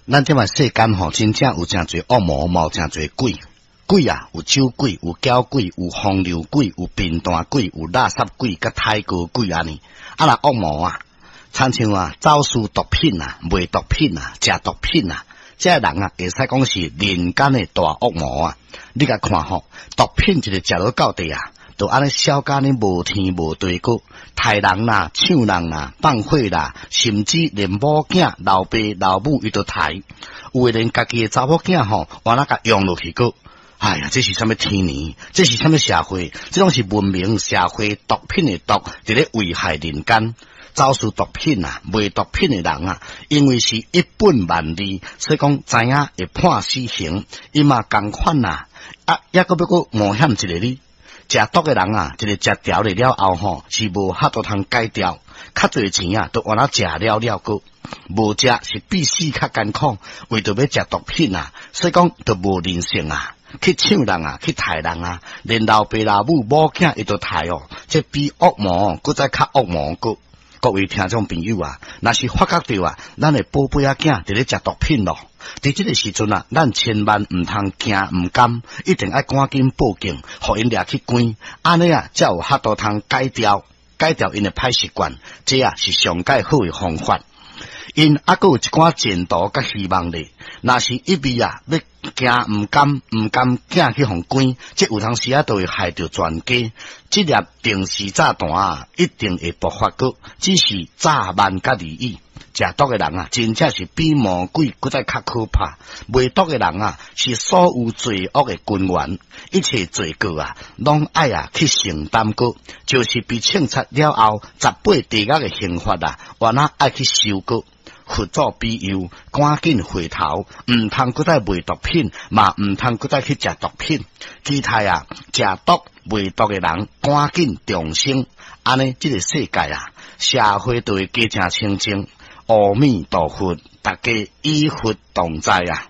咱這擺世間吼，真正有誠濟惡魔，嘛有誠濟鬼。鬼啊，有酒鬼，有攪鬼，有風流鬼，有貧惰鬼，有垃圾鬼，佮刣哥鬼按呢。啊，若惡魔啊，親像啊，走私毒品啊，賣毒品啊，食毒品啊，這个人啊，會使講是人間的大惡魔啊！你共看吼，毒品一个食落到底啊，就按呢痟甲呢無天無地閣，刣人啦、搶人啦、放火啦，甚至連某囝、老爸、老母伊都刣，有的連家己的查某囝吼，原來共用落去閣。哎呀，這是啥物天年？這是啥物社會？這攏是文明社會毒品的毒，佇咧危害人間。走私毒品啊，賣毒品的人啊，因為是一本萬利，所以講知影會判死刑，伊嘛仝款啊，啊，抑閣欲閣冒險一下哩。食毒的人啊，一个食著了後吼，是無法度通戒掉，較濟錢啊，都換來食了了閣，無食是比死較艱苦，為著欲食毒品啊，所以講就無人性啊。去搶人啊，去刣人啊，連老爸老母某囝伊都刣哦，這比惡魔閣再較惡魔閣。各位聽眾朋友啊，若是發覺著啊，咱的寶貝仔囝佇咧食毒品咯，佇這个時陣啊，咱千萬毋通驚毋甘，一定愛趕緊報警，予𪜶掠去關，按呢啊，才有法度通改掉，改掉𪜶的歹習慣，這啊是上蓋好的方法。𪜶猶閣有一寡前途佮希望咧，若是一味啊，欲驚毋甘，毋甘囝去予關，這有當時啊，就會害著全家。這粒定時炸彈啊，一定會爆發閣，只是早慢佮而已。食毒的人啊，真正是比魔鬼閣再較可怕。賣毒的人啊，是所有罪惡的根源，一切罪過啊，攏愛啊去承擔閣，就是被懲罰了後，十八地獄的刑罰啊，原來愛去受閣。佛祖庇佑，趕緊回頭，毋通閣再賣毒品，嘛毋通閣再去食毒品。期待啊，食毒賣毒的人趕緊重生，按呢，這个世界啊，社會就會加誠清淨。阿彌陀佛，大家與佛同在啊！